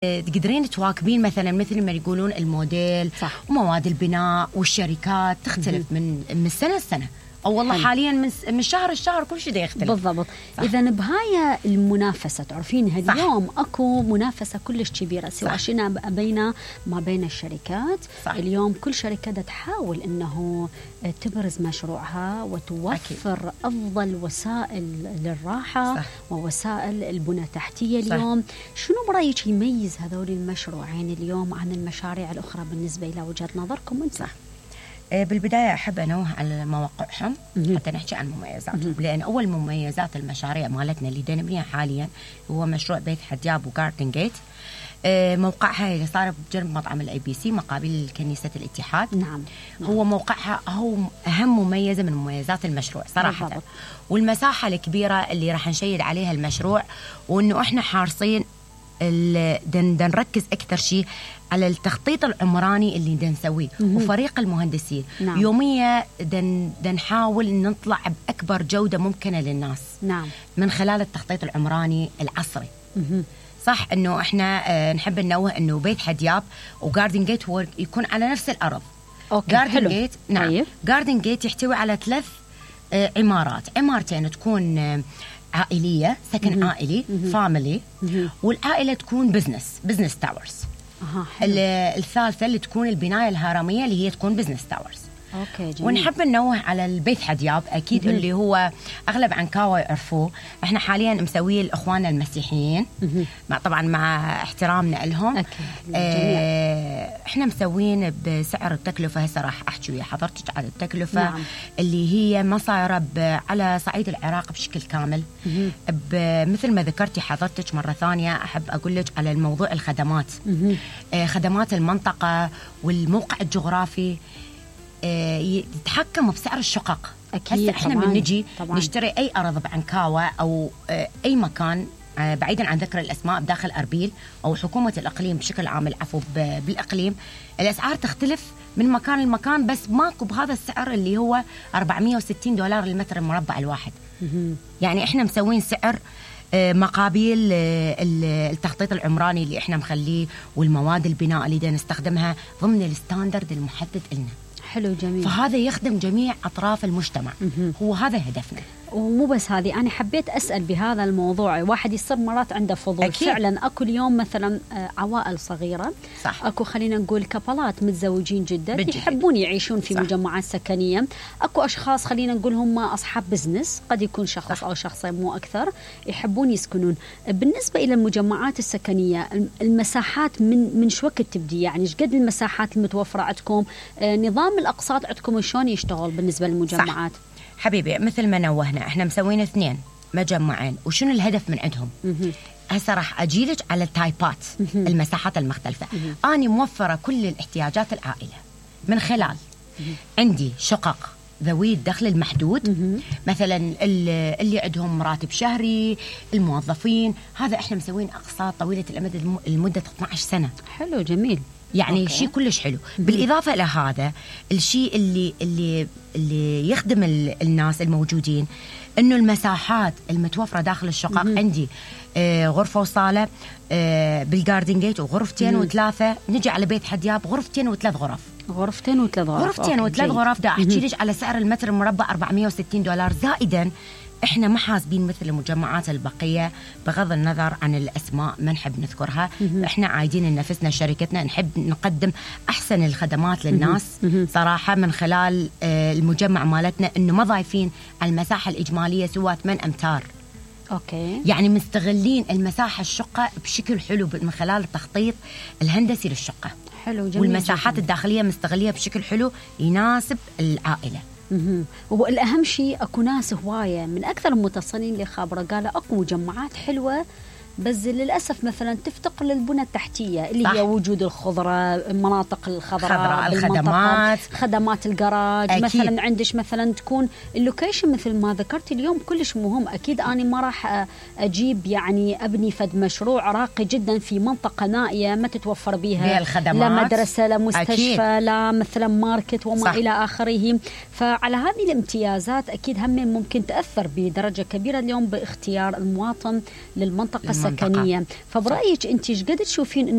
تقدرين تواكبين مثلا مثل ما يقولون الموديل صح. ومواد البناء والشركات تختلف من سنة لسنة، أو والله حاليا من شهر لشهر كل شيء يختلف. بالضبط. إذا بهاي المنافسة تعرفين اليوم أكو منافسة كلش كبيرة، سواء شئنا بينا ما بين الشركات. صح. اليوم كل شركة تحاول إنه تبرز مشروعها وتوفر أكيد. أفضل وسائل للراحة. صح. ووسائل البنى التحتية. اليوم شنو برأيك يميز هذول المشروعين اليوم عن المشاريع الأخرى بالنسبة إلى وجهة نظركم أنت؟ صح. بالبداية أحب أنوه على مواقعهم حتى نحكي عن مميزاتهم، لأن أول مميزات المشاريع مالتنا اللي نبنيها حاليا هو مشروع بيت حدياب وجاردن جيت. موقعها اللي صار بجنب مطعم الABC مقابل كنيسة الاتحاد. نعم. هو موقعها هو أهم مميزة من مميزات المشروع صراحة. بالضبط. والمساحة الكبيرة اللي راح نشيد عليها المشروع، وإنه إحنا حارصين نركز أكثر شيء على التخطيط العمراني اللي نسويه وفريق المهندسين. نعم. يوميا نحاول نطلع بأكبر جودة ممكنة للناس. نعم. من خلال التخطيط العمراني العصري. صح إنه إحنا نحب ننوه إنه بيت حدياب وجاردن جيت هو يكون على نفس الأرض. جاردن جيت نعم. جاردن جيت يحتوي على 3 عمارات، عمارتين تكون عائلية سكن عائلي فاميلي، والعائلة تكون بزنس تاورز. الثالثة اللي تكون البناية الهرمية اللي هي تكون بزنس تاورز. أوكي جميل. ونحب ننوه على البيت حدياب أكيد اللي هو أغلب عنكاوة يعرفوه. إحنا حاليا مسويه لإخواننا المسيحيين طبعا مع احترامنا لهم. إحنا مسوين بسعر التكلفة. هسه راح أحكي ويا حضرتك على التكلفة. نعم. اللي هي ما صايرة على صعيد العراق بشكل كامل. مثل ما ذكرتي حضرتك مرة ثانية أحب أقول لك على الموضوع الخدمات. خدمات المنطقة والموقع الجغرافي يتحكم بسعر الشقق. أكيد. احنا من نجي نشتري أي أرض بعنكاوة أو أي مكان بعيدا عن ذكر الأسماء بداخل أربيل أو حكومة الإقليم بشكل عام، العفو بالإقليم، الأسعار تختلف من مكان لمكان، بس ماكو بهذا السعر اللي هو $460 للمتر المربع الواحد. يعني احنا مسوين سعر مقابل التخطيط العمراني اللي احنا مخليه والمواد البناء اللي دا نستخدمها ضمن الستاندرد المحدد لنا. حلو جميل. فهذا يخدم جميع أطراف المجتمع. هو هذا هدفنا. ومو بس هذه، أنا حبيت أسأل بهذا الموضوع. واحد يصير مرات عنده فضول. أكيد. فعلا أكو اليوم مثلا عوائل صغيرة. صح. أكو خلينا نقول كابلات متزوجين جدا يحبون يعيشون في مجمعات سكنية. أكو أشخاص خلينا نقول هم أصحاب بزنس، قد يكون شخص صح. أو شخصين مو أكثر، يحبون يسكنون. بالنسبة إلى المجمعات السكنية المساحات من شو وقت تبدي؟ يعني إيش قد المساحات المتوفرة عندكم؟ نظام الأقساط عندكم شلون يشتغل بالنسبة للمجمعات؟ صح. حبيبي مثل ما نوهنا احنا مسوين 2 مجمعين، وشنو الهدف من عندهم؟ هسه راح أجيلك على التايبات المساحات المختلفة. أنا موفرة كل الاحتياجات العائلة من خلال عندي شقق ذوي الدخل المحدود، مثلا اللي عندهم راتب شهري، الموظفين، هذا احنا مسوين أقساط طويلة الأمد لمدة 12 سنة. حلو جميل. يعني شيء كلش حلو. بالإضافة إلى هذا الشيء اللي يخدم الناس الموجودين، إنه المساحات المتوفرة داخل الشقق عندي غرفة وصالة بالجاردن جيت، وغرفتين و3. نجي على بيت حدياب غرفتين و3 غرف. غرفتين و3 غرف. دا أحكي لك على سعر المتر المربع $460. زائدا احنا ما حاسبين مثل المجمعات البقية، بغض النظر عن الأسماء ما نحب نذكرها. احنا عايدين لنفسنا شركتنا نحب نقدم أحسن الخدمات للناس صراحة من خلال المجمع مالتنا، إنه ما ضايفين على المساحة الإجمالية سوى 8 أمتار. أوكي. يعني مستغلين المساحة الشقة بشكل حلو من خلال التخطيط الهندسي للشقة. حلو جميل. والمساحات الداخلية مستغلية بشكل حلو يناسب العائلة. والأهم شيء أكو ناس هواية من أكثر المتصلين اللي خابرة قالوا أكو مجمعات حلوة، بس للأسف مثلا تفتقر للبنى التحتية اللي صح. هي وجود الخضرة، المناطق الخضراء، خدمات الجراج. أكيد. مثلا عندش مثلا تكون اللوكيشن مثل ما ذكرت اليوم كلش مهم. أكيد أنا ما راح أجيب يعني أبني فد مشروع راقي جدا في منطقة نائية ما تتوفر بها لا مدرسة لا مستشفى. أكيد. لا مثلا ماركت وما صح. إلى آخره. فعلى هذه الامتيازات أكيد هم ممكن تأثر بدرجة كبيرة اليوم باختيار المواطن للمنطقة السكنية سكنيه. فبرايك انت ايش قد تشوفين